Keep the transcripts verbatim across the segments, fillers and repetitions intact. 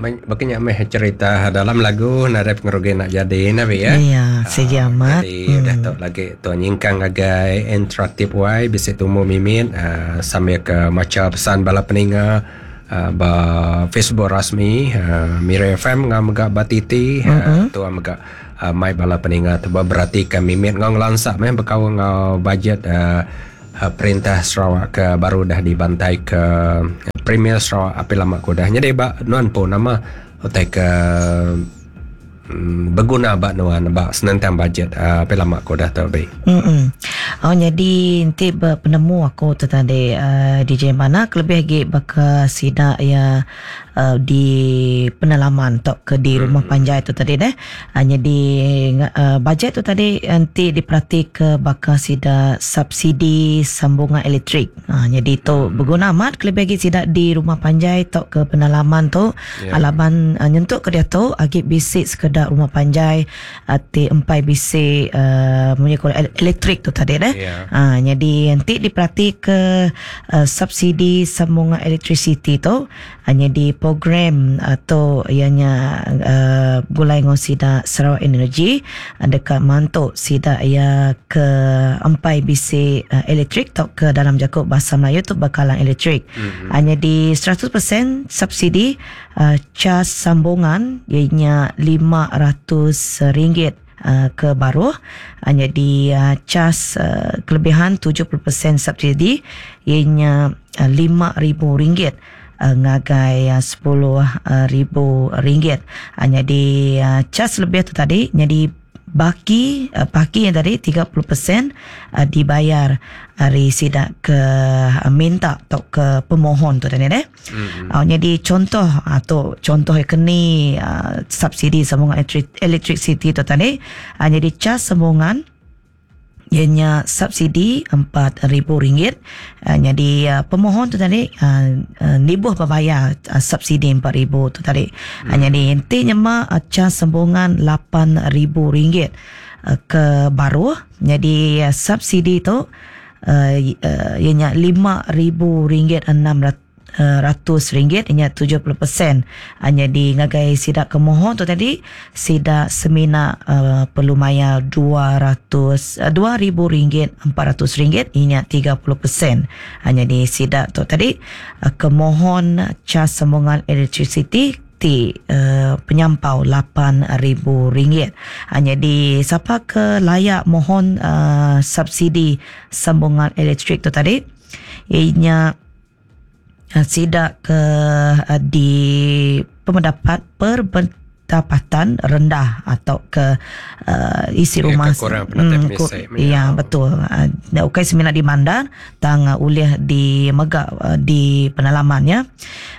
Bakanya meh cerita dalam lagu nadai pengerugi nak jadi nabi ya. Iya, sigi amat. Jadi hmm. Udah tu lagi tu nyingkang ngagai interaktif wai bisi tumu mimit uh, sambil ke maca pesan bala peninga uh, ba Facebook rasmi uh, Miri F M ngam mega ba T T uh, tu mega uh, mai bala peninga tu berarti ke mimit ngau ngelansak meh bekau ngau bajet uh, uh, perintah Sarawak ke baru dah dibantai ke Premier Sarawak api lama ku dah. Jadi ba nuan pun nama utai ke mm, berguna ba nuan ba senentang bajet uh, api lama ku dah tu be. Mm. Oh jadi nanti penemu aku tu tadi uh, D J mana kelebih lagi baka sida ya uh, di penalaman atau ke di rumah panjai tu tadi deh. Uh, jadi uh, bajet tu tadi nanti diperhati ke baka sida subsidi sambungan elektrik. Uh, jadi tu berguna amat kelebih lagi sida di rumah panjai atau ke penalaman tu yeah. Alaban uh, nyentuk ke dia tu agi bisik sekedar rumah panjai uh, ti empai bisik uh, munyi elektrik tu tadi deh. Yeah. Ha, jadi nanti diperhati ke uh, subsidi sambungan electricity tu hanya di program atau ianya uh, gulai ngau sida Sarawak Energy dekat mantuk sida ia ke empai bisi uh, elektrik atau ke dalam jakub bahasa Melayu tu bekalan elektrik. Mm-hmm. Hanya di seratus peratus subsidi uh, cas sambungan ianya lima ratus ringgit Uh, ke baruh hanya di uh, cas uh, kelebihan tujuh puluh peratus subsidi ianya uh, lima ribu ringgit uh, ngagai uh, sepuluh ribu ringgit. Hanya di uh, cas lebih tu tadi jadi baki uh, baki yang tadi tiga puluh peratus uh, dibayar hari sidak ke uh, minta atau ke pemohon tu tadi deh. Mm-hmm. Uh, jadi contoh atau contoh kini uh, subsidi sambungan electricity tu tadi uh, jadi cas sambungan ianya subsidi empat ribu ringgit. Uh, jadi uh, pemohon tu tadi uh, uh, nibuh berbayar uh, subsidi empat ribu tu tadi. Hmm. Uh, jadi intinya mah uh, cas sambungan lapan ribu ringgit uh, ke baruh. Jadi uh, subsidi tu uh, uh, ianya lima ribu ringgit enam ratus ringgit ianya tujuh puluh peratus. Hanya di ngagai sidak kemohon tu tadi sidak semina uh, perlu bayar dua ratus dua ribu ringgit empat ratus ringgit ianya tiga puluh peratus. Hanya di sidak tu tadi uh, kemohon cas sambungan electricity ti uh, penyampau lapan ribu ringgit. Hanya di siapa ke layak mohon uh, subsidi sambungan elektrik tu tadi ianya sidak ke di pemendapat perbendapatan rendah atau ke uh, isi ya, rumah kurang pendapat hmm, ku, ya betul uh, ukai semina di bandar tang uh, ulih di megak uh, di penalaman ya.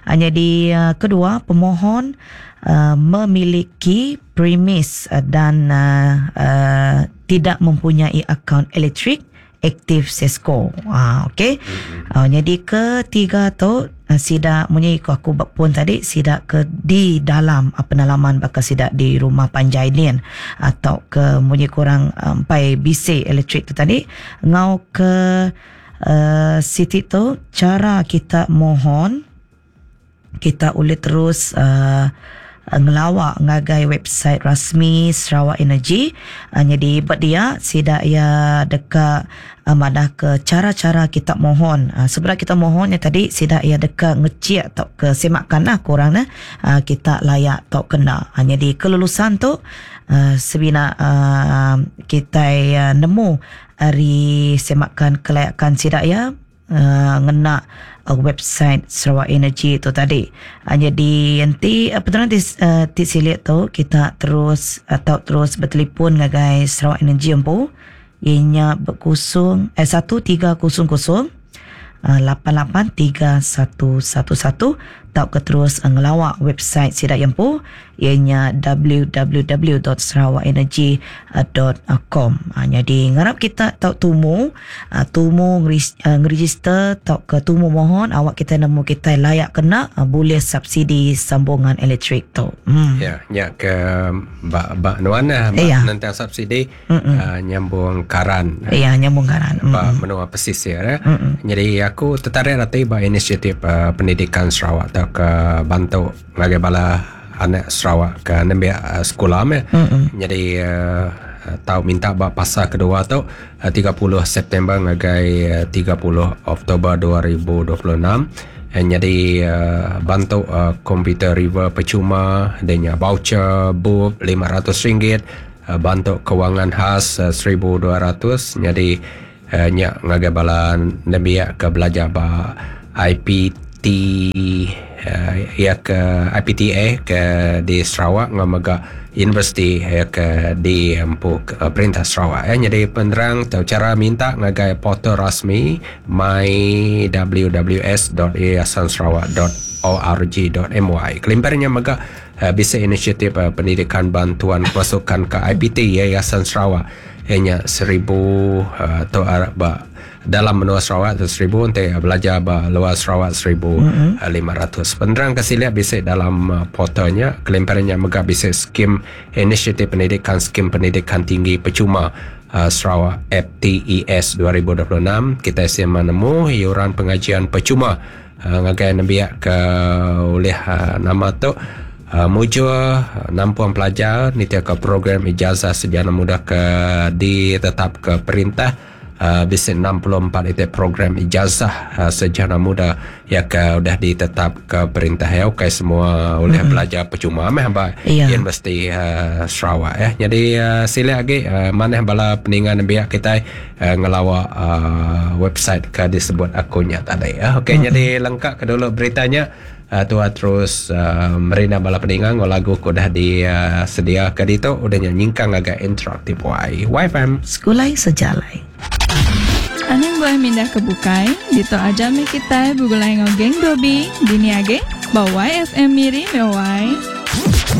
Hanya di uh, kedua pemohon uh, memiliki premis uh, dan uh, uh, tidak mempunyai akaun elektrik aktif Sesco. Ah okey. Mm-hmm. Uh, jadi ketiga tu uh, sidak munyi aku pun tadi sidak ke di dalam uh, penalaman bakal sidak di rumah panjai nian atau ke munyi kurang empai um, bisik elektrik tu tadi ngau ke uh, siti tu cara kita mohon kita boleh terus uh, ngelawak ngagai website rasmi Sarawak Energy. Uh, jadi buat dia sidak ia dekat uh, madah ke cara-cara kita mohon. Uh, sebenarnya kita mohonnya tadi sidak ia dekat ngecek atau ke semakan lah kurang nah uh, kita layak atau kena. Uh, jadi kelulusan tu uh, sebina uh, kita uh, nemu hari semakan kelayakan sidak ia uh, ngena uh, website Sarawak Energy tu tadi. Uh, jadi nanti apa tu nanti uh, ti silit tu kita terus atau terus bertelefon ngagai Sarawak Energy empu ianya berkosong eh satu tiga kosong kosong lapan lapan tiga satu satu satu atau ke terus ngelawak website sidak empu ianya w w w dot sarawak energy dot com. Ha, jadi ngarap kita tau tumu tumu ngeregister tau ke tumu mohon awak kita nemu kita layak kena boleh subsidi sambungan elektrik tu. Hmm. Ya, ya ke bak bak nuan lah bak ya. Nentang subsidi uh, nyambung karan. Ya, nyambung karan. Bak menua pesisir ya. Jadi Aku tertarik nanti ba inisiatif uh, pendidikan Sarawak atau ke bantu ngagai bala anak Sarawak ke nembiak uh, sekolah meh. Mm-hmm. Jadi uh, tau minta ba pasal kedua tu uh, tiga puluh September ngagai uh, tiga puluh Oktober dua ribu dua puluh enam. Eh, jadi uh, bantu uh, komputer river percuma, adanya voucher bup lima ratus ringgit, uh, bantu kewangan khas uh, seribu dua ratus. Jadi uh, nyak ngagai bala nembiak ke belajar ba I P T uh, ya ke I P T A ke di Sarawak ngamaga universiti ya ke di empu uh, perintah Sarawak ya. Jadi penerang atau cara minta ngagai portal rasmi my w w s dot yayasan sarawak dot org dot m y. Kelimparnya mega uh, bisa inisiatif uh, pendidikan bantuan pasukan ke I P T Yayasan Sarawak hanya seribu uh, atau uh, dalam menua Sarawak tu seribu, nanti belajar ba luar Sarawak seribu lima ratus. Penerang kasih lihat bisa dalam uh, portalnya. Kelimparnya mega bisa skim inisiatif pendidikan skim pendidikan tinggi percuma uh, Sarawak F T E S dua ribu dua puluh enam. Kita siapa nemu yuran pengajian percuma uh, ngagai nembiak ke oleh uh, nama tu Uh, mujur uh, nampuan pelajar ni ke program ijazah sejana muda ke ditetap ke perintah uh, bisa enam puluh empat itu program ijazah uh, sejana muda ya ke udah ditetap ke perintah ya. Okey semua oleh mm-hmm. belajar percuma meh ba yeah. Universiti uh, Sarawak ya. Jadi uh, sila lagi uh, mana bala peningan nembiak kita uh, ngelawa uh, website ke disebut akunnya tadi ya. Okey mm-hmm. jadi lengkap ke dulu beritanya. Uh, tua terus uh, merina bala peningan lagu ku dah di uh, sedia ke ditu udah nyingkang agak interaktif Y Y F M Sekulai sejalai. Anang boleh mindah ke bukai, dito aja mi kita bugulai ngogeng dobi, dini age, bawa Y F M miri mewai.